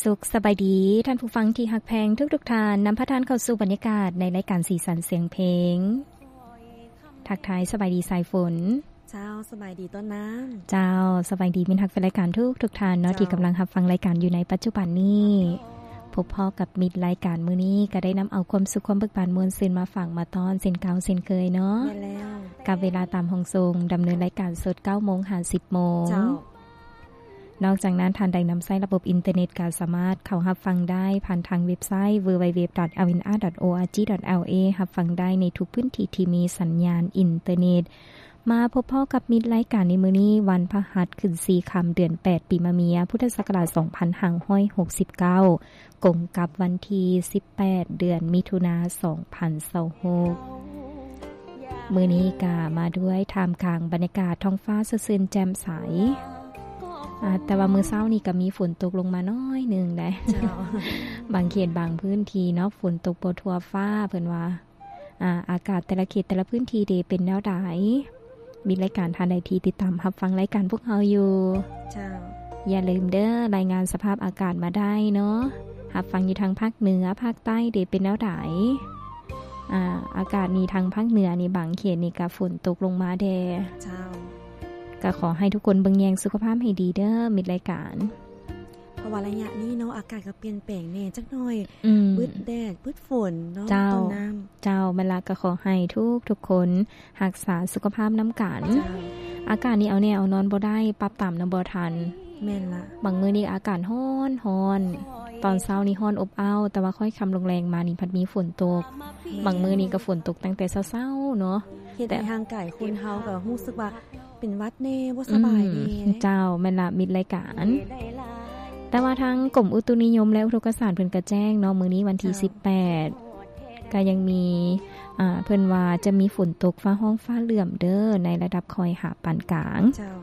ສຸກສະບາຍດີທ່ານຜູ້ຟັງທີ່ຮັກແພງທຸກໆທ່ານ, ນຳພາທ່ານເຂົ້າສູ່ບັນຍາກາດໃນລາຍການສີສັນສຽງເພງ. ທັກທາຍສະບາຍດີສາຍຝົນ. ເຈົ້າ, ສະບາຍດີຕົ້ນນ້ຳ. ເຈົ້າ, ສະບາຍດີມິດຮັກແຟນລາຍການທຸກໆທ່ານເນາະ, ເຈົ້າ, ທີ່ກຳລັງຮັບຟັງລາຍການຢູ່ໃນປັດຈຸບັນນີ້. ພົບພໍ້ກັບມິດລາຍການມື້ນີ້ ກໍໄດ້ນຳເອົາຄວາມສຸກຄວາມເບີກບານມ່ວນຊື່ນມາຝາກມາຕ້ອນເຊັ່ນເກົ່າເຊັ່ນເຄີຍເນາະ. ແມ່ນແລ້ວ. ກັບເວລາຕາມຫ້ອງສົ່ງ ດຳເນີນລາຍການສົດເກົ້າໂມງຫາສິບໂມງ. ເຈົ້າ. ນອກຈາກນັ້ນ, ທ່ານໃດນຳໃຊ້ລະບົບອິນເຕີເນັດ ກໍສາມາດເຂົ້າຮັບຟັງໄດ້ຜ່ານທາງເວັບໄຊ www.lnr.org.la ຮັບຟັງໄດ້ໃນທຸກພື້ນທີ່ທີ່ມີສັນຍານອິນເຕີເນັດ. ມາພົບພໍ້ກັບມິດລາຍການໃນມື້ນີ້ ວັນພະຫັດຂຶ້ນສີ່ຄ່ຳ ເດືອນແປດ ປີມະເມຍ ພຸດທະສັກກະລາດສອງພັນຫ້າຮ້ອຍຫົກສິບເກົ້າ ກົງກັບວັນທີສິບແປດ ເດືອນມິຖຸນາ ສອງພັນຊາວຫົກ. ມື້ນີ້ກະມາດ້ວຍທ່າມກາງບັນຍາກາດທ້ອງຟ້າສົດຊື່ນແຈ່ມໃສ. ອາ, ແຕ່ວ່າມື້ເຊົ້ານີ້ກະມີຝົນຕົກລົງມາໜ້ອຍໜຶ່ງແຫຼະ. ເຈົ້າ. ບາງເຂດບາງພື້ນທີ່ເນາະ, ຝົນຕົກບໍ່ທົ່ວຟ້າ ເພິ່ນວ່າ. ອາ, ອາກາດແຕ່ລະເຂດແຕ່ລະພື້ນທີ່ເດເປັນແນວໃດ? ມິດລາຍການທ່ານໃດທີ່ຕິດຕາມຮັບຟັງລາຍການພວກເຮົາຢູ່. ເຈົ້າ. ຢ່າລືມເດີ, ລາຍງານສະພາບອາກາດມາໄດ້ເນາະ. ຮັບຟັງຢູ່ທາງພາກເໜືອ, ພາກໃຕ້ເດເປັນແນວໃດ? ອາ, ອາກາດນີ້ທາງພາກເໜືອນີ້ ບາງເຂດນີ້ກະຝົນຕົກລົງມາແດ່. ເຈົ້າ. ກະຂໍໃຫ້ທຸກຄົນເບິ່ງແຍງສຸຂະພາບໃຫ້ດີເດີ, ມິດລາຍການ. ເພາະວ່າໄລຍະນີ້ເນາະ ອາກາດກໍປ່ຽນແປງແດ່ຈັກໜ້ອຍ. ອືມ. ບຶດແດດ ບຶດຝົນເນາະ. ເຈົ້າ. ຕົ້ນນ້ຳ. ເຈົ້າ, ແມ່ນລະ, ກໍຂໍໃຫ້ທຸກໆຄົນຮັກສາສຸຂະພາບນຳກັນ. ເຈົ້າ. ອາກາດນີ້ເອົາແນ່ເອົານອນບໍ່ໄດ້, ປັບຕາມນຳບໍ່ທັນ. ແມ່ນລະ. ບາງມື້ນີ້ອາກາດຮ້ອນ, ຮ້ອນ, ຕອນເຊົ້ານີ້ຮ້ອນອົບອ້າວ, ແຕ່ວ່າຄ່ອຍຄ່ຳລົງແລງມານີ້ພັດມີຝົນຕົກ. ແມ່ນ. ບາງມື້ນີ້ກໍຝົນຕົກຕັ້ງແຕ່ເຊົ້າໆເນາະ, ເຮັດໃຫ້ ແຕ່ ຮ່າງກາຍຄົນເຮົາກໍຮູ້ສຶກວ່າ ເປັນຫວັດແດ່ ບໍ່ສະບາຍແດ່. ອືມ ເຈົ້າ, ແມ່ນລະ ມິດລາຍການ. ແຕ່ວ່າທາງກົມອຸຕຸນິຍົມ ແລະ ອຸທົກກະສາດເພິ່ນກະແຈ້ງເນາະ, ມື້ນີ້ວັນທີ ເຈົ້າ ສິບແປດ ກະຍັງມີ, ອາ, ເພິ່ນວ່າຈະມີຝົນຕົກຟ້າຮ້ອງຟ້າເຫຼື້ອມເດີ ໃນລະດັບຄ່ອຍຫາປານກາງ. ເຈົ້າ.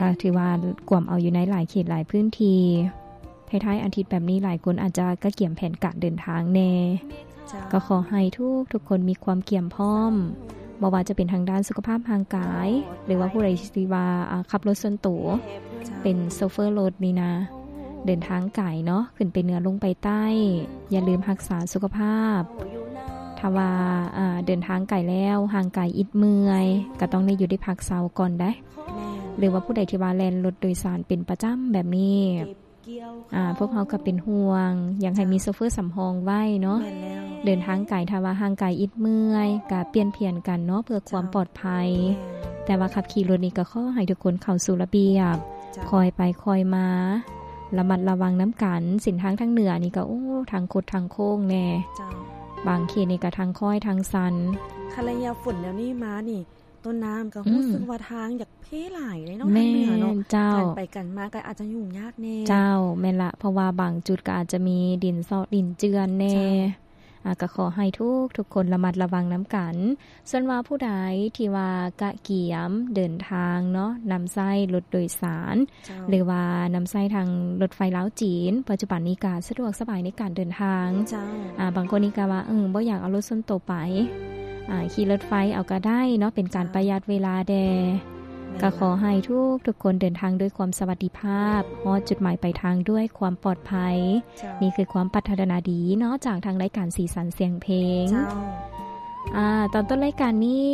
ກະຖືວ່າກວມເອົາຢູ່ໃນຫຼາຍເຂດຫຼາຍພື້ນທີ່. ທ້າຍໆອາທິດແບບນີ້ ຫຼາຍຄົນອາດຈະກະກຽມແຜນການເດີນທາງແດ່. ເຈົ້າ. ກໍຂໍໃຫ້ທຸກໆຄົນມີຄວາມກຽມພ້ອມ, ບໍ່ວ່າຈະເປັນທາງດ້ານສຸຂະພາບຮ່າງກາຍ ຫຼືວ່າຜູ້ໃດທີ່ວ່າ ອາ ຂັບລົດສ່ວນໂຕ, ເຈົ້າ ເປັນໂຊເຟີລົດນີ້ນະ, ເດີນທາງໄກເນາະ, ຂຶ້ນໄປເໜືອລົງໄປໃຕ້, ຢ່າລືມຮັກສາສຸຂະພາບ. ຖ້າວ່າ ອາ ເດີນທາງໄກແລ້ວ ຮ່າງກາຍອິດເມື່ອຍ, ກໍຕ້ອງໄດ້ຢຸດໄດ້ພັກເຊົາກ່ອນໄດ໋. ແມ່ນ. ຫຼືວ່າຜູ້ໃດທີ່ວ່າແລ່ນລົດໂດຍສານເປັນປະຈຳແບບນີ້, ອາ ພວກເຮົາກໍເປັນຫ່ວງ, ຢາກໃຫ້ມີ ເຈົ້າ ໂຊເຟີສຳຮອງໄວ້ເນາະ. ແມ່ນແລ້ວ. ເດີນທາງໄກ ຖ້າວ່າຮ່າງກາຍອິດເມື່ອຍ ກໍປ່ຽນຜຽນກັນເນາະ ເພື່ອຄວາມ ເຈົ້າ ປອດໄພ. ແມ່ນ. ແຕ່ວ່າຂັບຂີ່ລົດນີ້ກໍຂໍໃຫ້ທຸກຄົນເຂົ້າສູ່ລະບຽບ, ເຈົ້າ ຄ່ອຍໄປຄ່ອຍມາ, ລະມັດລະວັງນຳກັນ. ເສັ້ນທາງທາງເໜືອນີ້ກໍ ໂອ້ ທາງຄົດທາງໂຄ້ງແດ່. ເຈົ້າ. ບາງເຂດນີ້ກໍທາງຄ້ອຍທາງຊັນ. ຄັນໄລຍະຝົນແນວນີ້ມານີ້ ຕົ້ນນ້ຳກໍ ອືມ ຮູ້ສຶກວ່າທາງຢາກເພຫຼາຍເດ້ເນາະ. ແມ່ນ ທາງເໜືອເນາະ. ເຈົ້າ. ການໄປການມາກໍອາດຈະຫຍຸ້ງຍາກແດ່. ເຈົ້າ, ແມ່ນລະ, ເພາະວ່າບາງຈຸດກໍອາດຈະມີດິນຊອກດິນເຈື່ອນແດ່. ເຈົ້າ. ອາ, ກໍຂໍໃຫ້ທຸກໆຄົນລະມັດລະວັງນຳກັນ. ສ່ວນວ່າຜູ້ໃດທີ່ວ່າກະກຽມເດີນທາງເນາະ, ນຳໃຊ້ລົດໂດຍສານ, ເຈົ້າ ຫຼືວ່ານຳໃຊ້ທາງລົດໄຟລາວຈີນ, ປັດຈຸບັນນີ້ກະສະດວກສະບາຍໃນການເດີນທາງ. ເຈົ້າ. ອາ, ບາງຄົນນີ້ກະວ່າ, ເອີ, ບໍ່ຢາກເອົາລົດສ່ວນໂຕໄປ, ອາ, ຂີ່ລົດໄຟເອົາກະໄດ້ເນາະ, ເປັນການ ເຈົ້າ ປະຢັດເວລາແດ່. ແມ່ນ ກະຂໍໃຫ້ທຸກໆຄົນເດີນທາງດ້ວຍຄວາມສະຫວັດດີພາບ, ຮອດຈຸດໝາຍປາຍທາງດ້ວຍຄວາມປອດໄພ. ເຈົ້າ. ນີ້ຄືຄວາມປາດຖະໜາດີເນາະ ຈາກທາງລາຍການສີສັນສຽງເພງ. ເຈົ້າ. ອາ, ຕອນຕົ້ນລາຍການນີ້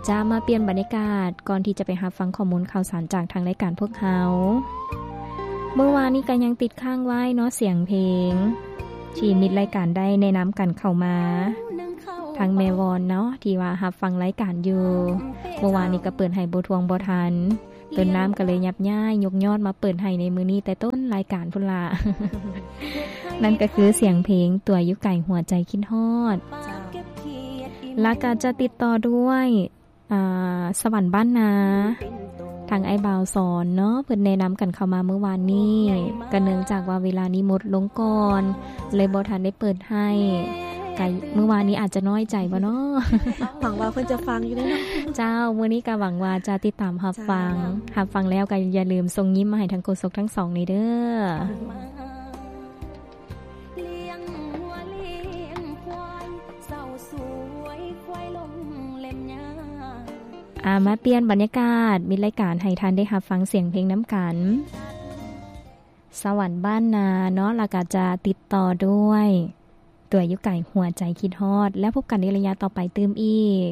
ຈະມາປ່ຽນບັນຍາກາດ ກ່ອນທີ່ຈະໄປຮັບຟັງຂໍ້ມູນຂ່າວສານຈາກທາງລາຍການພວກເຮົາ. ມື້ວານນີ້ກໍຍັງຕິດຄ້າງໄວ້ເນາະ ສຽງເພງ ທີ່ມິດລາຍການໄດ້ແນະນຳກັນເຂົ້າມາ. ທັງແມ່ວອນເນາະ ທີ່ວ່າຮັບຟັງລາຍການຢູ່. ເມື່ອວານນີ້ກໍເປີດໃຫ້ບໍ່ທວງບໍ່ທັນ. ຕົ້ນນ້ຳກໍເລີຍຫຍັບຍ້າຍຍົກຍອດມາເປີດໃຫ້ໃນມື້ນີ້ແຕ່ຕົ້ນລາຍການພຸ້ນລະ. ນັ້ນກໍຄືສຽງເພງຕົວຢູ່ໄກຫົວໃຈຄິດຮອດ. ເຈົ້າ. ແລ້ວກໍຈະຕິດຕໍ່ດ້ວຍ ອາ ສະຫວັນບ້ານນາ ທາງອ້າຍບ່າວສອນເນາະ ເພິ່ນແນະນຳກັນເຂົ້າມາມື້ວານນີ້. ກໍເນື່ອງຈາກວ່າເວລານີ້ໝົດລົງກ່ອນ ເລີຍບໍ່ທັນໄດ້ເປີດໃຫ້. ກະມື້ວານນີ້ອາດຈະນ້ອຍໃຈບໍ່ເນາະ? ຫວັງວ່າເພິ່ນຈະຟັງຢູ່ເດ້ເນາະ. ເຈົ້າ, ມື້ນີ້ກໍຫວັງວ່າຈະຕິດຕາມຮັບຟັງ. ເຈົ້າ. ຮັບຟັງແລ້ວກໍຢ່າລືມສົ່ງຍິ້ມມາໃຫ້ທັງໂຄສົກທັງສອງນີ້ເດີ້. ອາ, ມາປ່ຽນບັນຍາກາດ, ມີລາຍການໃຫ້ທ່ານໄດ້ຮັບຟັງສຽງເພງນຳກັນ. ສະຫວັນບ້ານນາເນາະ ແລ້ວກໍຈະຕິດຕໍ່ດ້ວຍ ຕົວຢູ່ໄກຫົວໃຈຄິດຮອດ ແລ້ວພົບກັນໃນໄລຍະຕໍ່ໄປຕື່ມອີກ.